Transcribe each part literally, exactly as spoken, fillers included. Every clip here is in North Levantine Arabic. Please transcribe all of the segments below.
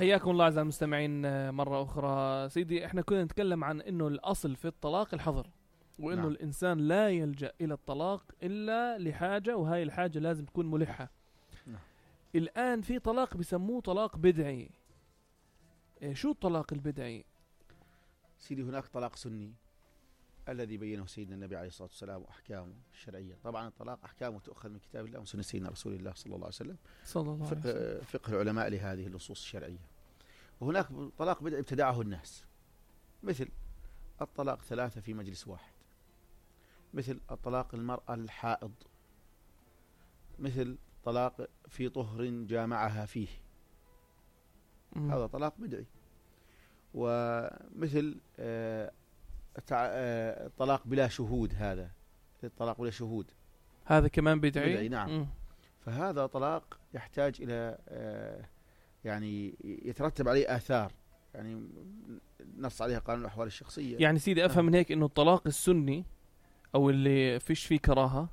حياكم الله أعزائي المستمعين مرة أخرى. سيدي احنا كنا نتكلم عن انه الأصل في الطلاق الحظر، وانه نعم. الإنسان لا يلجأ إلى الطلاق إلا لحاجة، وهاي الحاجة لازم تكون ملحة. نعم. الآن في طلاق بيسموه طلاق بدعي. إيه شو الطلاق البدعي؟ سيدي هناك طلاق سني الذي بينه سيدنا النبي عليه الصلاة والسلام وأحكامه الشرعية. طبعا الطلاق أحكامه تؤخذ من كتاب الله وسنة سيدنا رسول الله صلى الله عليه وسلم، صلى الله عليه وسلم. فقه العلماء لهذه النصوص الشرعية. وهناك طلاق بدعي ابتدعه الناس، مثل الطلاق ثلاثة في مجلس واحد، مثل الطلاق المرأة الحائض، مثل طلاق في طهر جامعها فيه، م. هذا طلاق بدعي. ومثل آه الطلاق بلا شهود، هذا الطلاق بلا شهود هذا كمان بدعي, بدعي نعم. م. فهذا طلاق يحتاج إلى آه يعني يترتب عليه آثار، يعني نص عليها قانون الأحوال الشخصية. يعني سيدي أفهم آه. من هيك إنه الطلاق السني أو اللي فيش فيه كراهة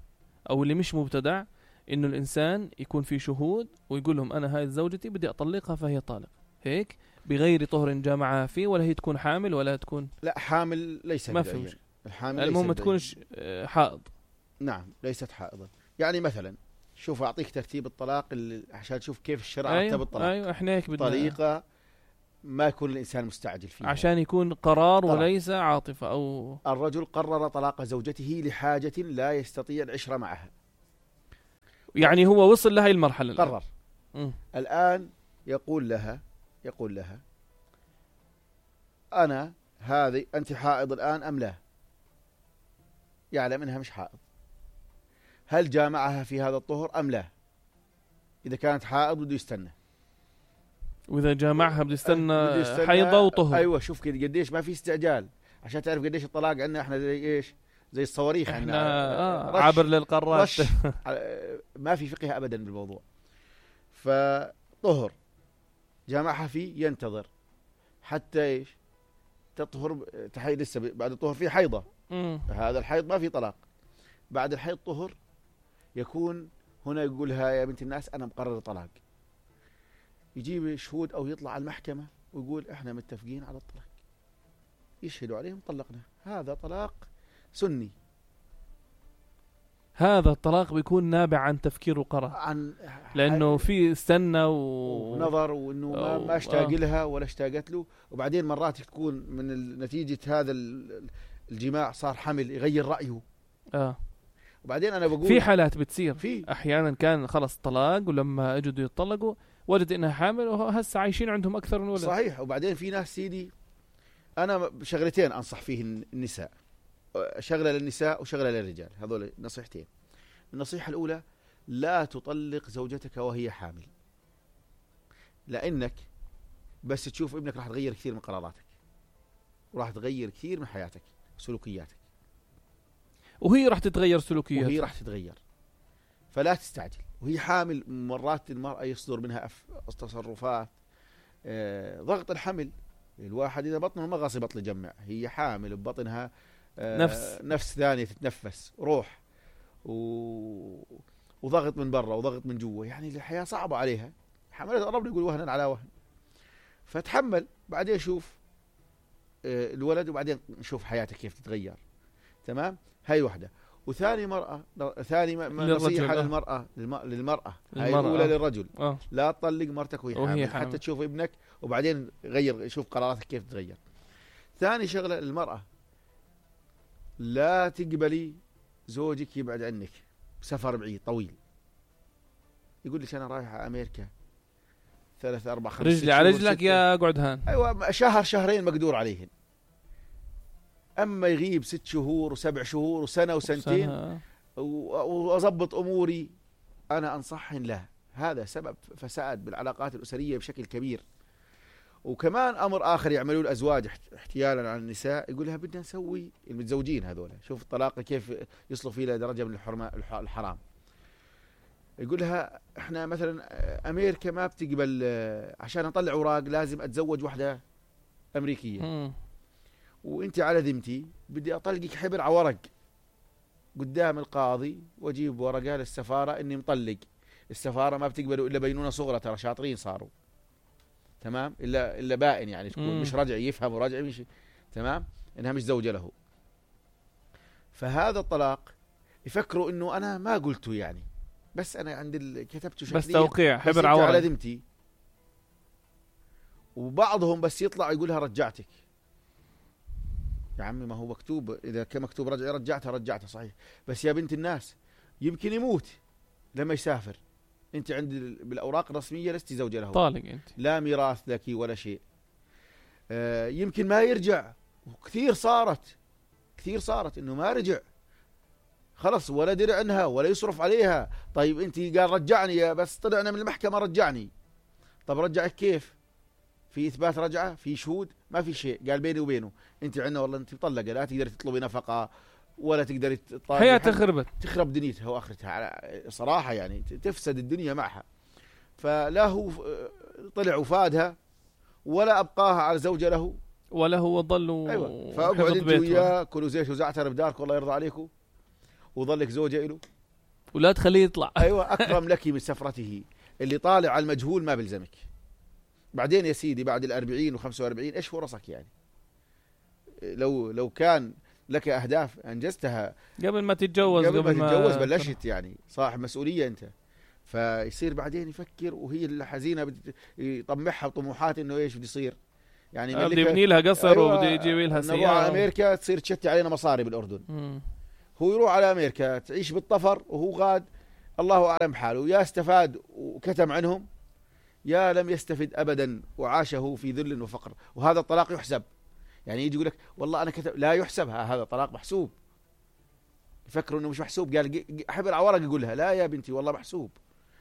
أو اللي مش مبتدع، إنه الإنسان يكون فيه شهود ويقول لهم أنا هاي زوجتي بدي أطلقها فهي طالق، هيك بغير طهر جامعها فيه، ولا هي تكون حامل ولا تكون لا حامل ليس ما فهمش الحامل المهم ما تكونش حائض. نعم ليست حائضة. يعني مثلا شوف أعطيك ترتيب الطلاق عشان تشوف كيف الشرع أيوة رتب الطلاق. أيوة احنا هيك بدنا طريقة ما يكون الإنسان مستعجل فيها عشان يكون قرار طلع. وليس عاطفة. أو الرجل قرر طلاق زوجته لحاجة لا يستطيع العشرة معها، يعني هو وصل لهي المرحلة قرر الآن. الآن يقول لها يقول لها أنا هذه أنت حائض الآن أم لا؟ يعلم أنها مش حائض. هل جامعها في هذا الطهر أم لا؟ إذا كانت حائض بده يستنى، وإذا جامعها بده يستنى حيضة وطهر. أيوة شوف كده قديش ما في استعجال، عشان تعرف قديش الطلاق عندنا إحنا زي إيش، زي الصواريخ إحنا آه عبر للقارات ما في فقه أبدا بالموضوع. فطهر جامعها فيه ينتظر حتى إيش تطهر، تحي لسه بعد الطهر في حيضة. مم. هذا الحيض ما في طلاق. بعد الحيض طهر يكون هنا يقولها يا بنت الناس أنا مقرر طلاق، يجيب شهود أو يطلع على المحكمة ويقول إحنا متفقين على الطلاق، يشهدوا عليهم طلقنا. هذا طلاق سني. هذا الطلاق بيكون نابع عن تفكير وقرار، عن لأنه في استنى و... ونظر، وإنه ما, ما اشتاق آه. لها ولا اشتاقت له. وبعدين مرات تكون من نتيجة هذا الجماع صار حمل، يغير رأيه. آه. وبعدين أنا بقول في حالات بتصير في أحيانا كان خلص طلاق، ولما اجوا يطلقوا وجد إنها حامل، وهسه عايشين عندهم أكثر من ولد. صحيح. وبعدين في ناس سيدي أنا شغلتين أنصح فيه النساء، شغلة للنساء وشغلة للرجال، هذول نصيحتين. النصيحة الأولى لا تطلق زوجتك وهي حامل، لأنك بس تشوف ابنك راح تغير كثير من قراراتك، وراح تغير كثير من حياتك وسلوكياتك، وهي راح تتغير سلوكياتك وهي راح تتغير. فلا تستعجل. وهي حامل مرات المرأة يصدر منها تصرفات آه ضغط الحمل. الواحد إذا بطنه ما غاصي بطل يجمع، هي حامل ببطنها آه نفس نفس ثانية تتنفس، روح و... وضغط من برا وضغط من جوا، يعني الحياة صعبة عليها. حملت ربنا يقول وهنا على وهن، فتحمل. بعدين شوف آه الولد، وبعدين نشوف حياتك كيف تتغير. تمام. هاي وحدة. وثاني مرأة ثاني نصيحة للمرأة للمرأة هاي الأولى للرجل آه. لا تطلق مرتك وهي حامل حتى تشوف ابنك، وبعدين غير شوف قراراتك كيف تتغير. ثاني شغلة للمرأة، لا تقبلي زوجك يبعد عنك سفر بعيد طويل، يقول لك أنا رايح على أمريكا ثلاث أربع خمس رجلي على رجلك يا قعد هان. أيوة شهر شهرين مقدور عليهن. أما يغيب ست شهور وسبع شهور وسنة وسنتين وأضبط أموري، أنا أنصحهن لا. هذا سبب فساد بالعلاقات الأسرية بشكل كبير. وكمان أمر آخر يعملوه الأزواج احتيالا على النساء، يقول لها بدنا نسوي المتزوجين هذول، شوف الطلاق كيف يصلوا فيه لدرجة من الحرام. يقول لها احنا مثلا أمريكا ما بتقبل، عشان أطلع أوراق لازم أتزوج واحدة أمريكية، م. وانت على ذمتي بدي اطلقك حبر على ورق قدام القاضي، واجيب ورقه للسفاره اني مطلق. السفاره ما بتقبلوا الا بينونه صغرى، ترى شاطرين صاروا. تمام، إلا إلا بائن يعني تكون مم. مش رجعي، يفهم ورجعي مش تمام، إنها مش زوجة له. فهذا الطلاق يفكروا إنه أنا ما قلته يعني، بس أنا عند ال... كتبته شكليا بس توقيع بس حبر على عورة. ذمتي. وبعضهم بس يطلع يقولها رجعتك يا عمي، ما هو مكتوب، إذا كان مكتوب رجع رجعتها رجعتها صحيح، بس يا بنت الناس يمكن يموت لما يسافر، أنت عند بالأوراق الرسمية لست زوجة له، طالق أنت، لا ميراث لك ولا شيء. آه يمكن ما يرجع، وكثير صارت كثير صارت إنه ما رجع خلص، ولا درع عنها ولا يصرف عليها. طيب أنت قال رجعني، بس طلعنا من المحكمة رجعني. طب رجعك كيف؟ في إثبات رجعة؟ في شهود؟ ما في شيء. قال بيني وبينه أنت عنا والله أنت مطلقة، لا تقدر تطلبي نفقة ولا تقدر تطالبي، حياتها خربت، تخرب دنيتها وآخرتها صراحة يعني، تفسد الدنيا معها. فلا هو طلع وفادها ولا أبقاها على زوجة له ولا هو ضل. أيوة. فأقعد أنت وياه كلوا زيت وزعتر بدارك والله يرضى عليكم، وظلك زوجة له ولا تخليه يطلع. أيوة. أكرم لك من سفرته. اللي طالع على المجهول ما بلزمك. بعدين يا سيدي بعد الأربعين وخمسة وأربعين إيش فرصك يعني؟ لو لو كان لك أهداف أنجزتها قبل ما تتجوز، قبل, قبل ما تتجوز بلشت يعني، صاحب مسؤولية أنت. فيصير بعدين يفكر، وهي الحزينة يطمحها طموحات إنه إيش بده يصير يعني، بدي يبني لها قصر. أيوة. وبده يجيب لها سيارة. نروح على أمريكا تصير تشتي علينا مصاري بالأردن. مم. هو يروح على أمريكا تعيش بالطفر، وهو غاد الله أعلم حاله، يا استفاد وكتم عنهم، يا لم يستفد أبدا وعاشه في ذل وفقر. وهذا الطلاق يحسب يعني، يجي يقول لك والله أنا كتب، لا يحسب، هذا طلاق محسوب. يفكروا إنه مش محسوب، قال حبر على ورق يقولها لا يا بنتي والله محسوب،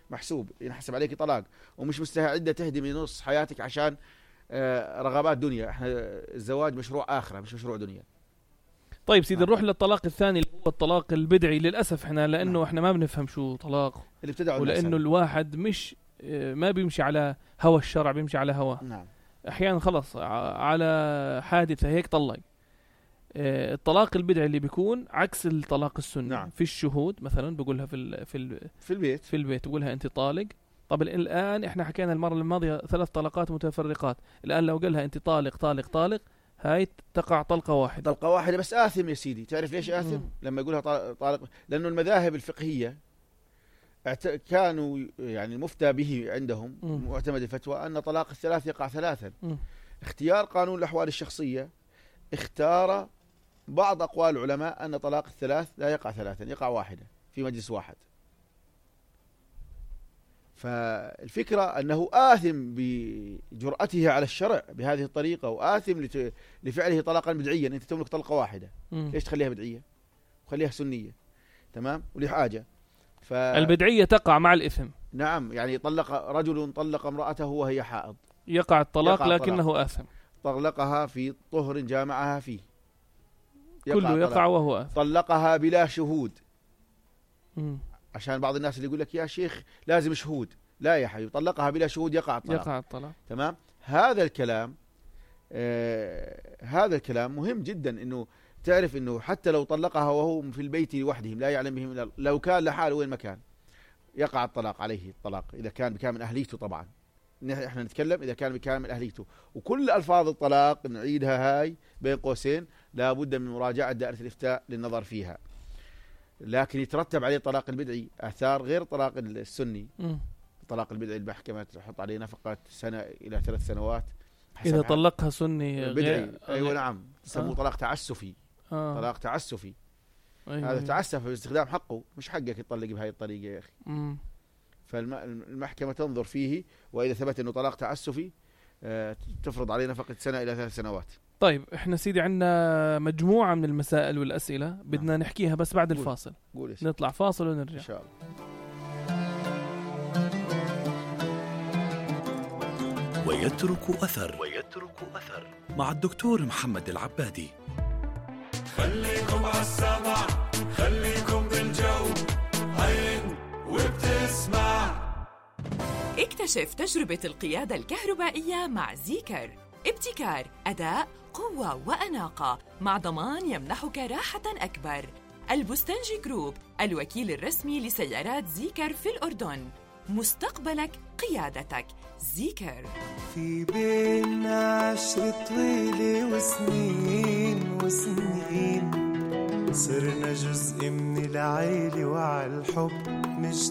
محسوب ينحسب عليك طلاق، ومش مستعدة تهدمي نص حياتك عشان رغبات دنيا. احنا الزواج مشروع آخرة مش مشروع دنيا. طيب سيدي نروح للطلاق الثاني اللي هو الطلاق البدعي. للأسف احنا لأنه احنا ما بنفهم شو طلاق، اللي ابتدعوا، ولأنه الواحد مش ما بيمشي على هوى الشرع، بيمشي على هواه. نعم. أحيانا خلص على حادثة هيك طلق. الطلاق البدعي اللي بيكون عكس الطلاق السني. نعم. في الشهود مثلا بقولها في ال في ال في البيت في البيت بقولها أنت طالق. طب الآن احنا حكينا المرة الماضية ثلاث طلقات متفرقات، الآن لو قالها أنت طالق طالق طالق هاي تقع طلقة واحدة. طلقة واحدة بس آثم يا سيدي. تعرف ليش آثم؟ مم. لما يقولها طالق، لأنه المذاهب الفقهية كانوا يعني المفتى به عندهم مم. معتمد الفتوى أن طلاق الثلاث يقع ثلاثا. مم. اختيار قانون الأحوال الشخصية اختار بعض أقوال العلماء أن طلاق الثلاث لا يقع ثلاثا، يقع واحدة في مجلس واحد. فالفكرة أنه آثم بجرأته على الشرع بهذه الطريقة، وآثم لفعله طلاقا بدعيا. أنت تملك طلقة واحدة، مم. ليش تخليها بدعية؟ وخليها سنية، تمام، ولحاجة. ف... البدعية تقع مع الإثم. نعم، يعني طلق رجل طلق امرأته وهي حائض، يقع الطلاق يقع لكنه الطلاق. آثم. طلقها في طهر جامعها فيه، كله يقع, يقع وهو آثم. طلقها بلا شهود. مم. عشان بعض الناس اللي يقول لك يا شيخ لازم شهود، لا يا حبيبي، طلقها بلا شهود يقع الطلاق. يقع الطلاق. تمام. هذا الكلام آه هذا الكلام مهم جدا، انه تعرف انه حتى لو طلقها وهو في البيت لوحدهم لا يعلم بهم الا، لو كان لحاله وين ما كان يقع الطلاق عليه الطلاق، اذا كان بكامل اهليته. طبعا احنا نتكلم اذا كان بكامل اهليته. وكل الفاظ الطلاق نعيدها هاي بين قوسين، لا بد من مراجعه دائره الافتاء للنظر فيها. لكن يترتب عليه الطلاق البدعي آثار غير الطلاق السني. مم. الطلاق البدعي المحكمة تحط عليه نفقة سنة إلى ثلاث سنوات إذا طلقها سني بدعي. غير... أيوة نعم، تسموه آه. طلاق تعسفي. آه. طلاق تعسفي. أيوة. هذا تعسف باستخدام حقه، مش حقك يطلق بهاي الطريقة يا أخي. مم. فالمحكمة تنظر فيه، وإذا ثبت أنه طلاق تعسفي آه تفرض عليه نفقة سنة إلى ثلاث سنوات. طيب احنا سيدي عندنا مجموعة من المسائل والأسئلة بدنا نعم. نحكيها بس بعد قول. الفاصل. قول نطلع فاصل ونرجع إن شاء الله. ويترك أثر ويترك أثر مع الدكتور محمد العبادي. خليكم عالسمع، خليكم بالجو، عين وبتسمع. اكتشف تجربة القيادة الكهربائية مع زيكر. ابتكار، أداء، قوة وأناقة مع ضمان يمنحك راحة أكبر. البستنجي جروب، الوكيل الرسمي لسيارات زيكر في الأردن. مستقبلك قيادتك. زيكر. في بينا عشرة طويلة وسنين وسنين، صرنا جزء من العيلة وعالحب مش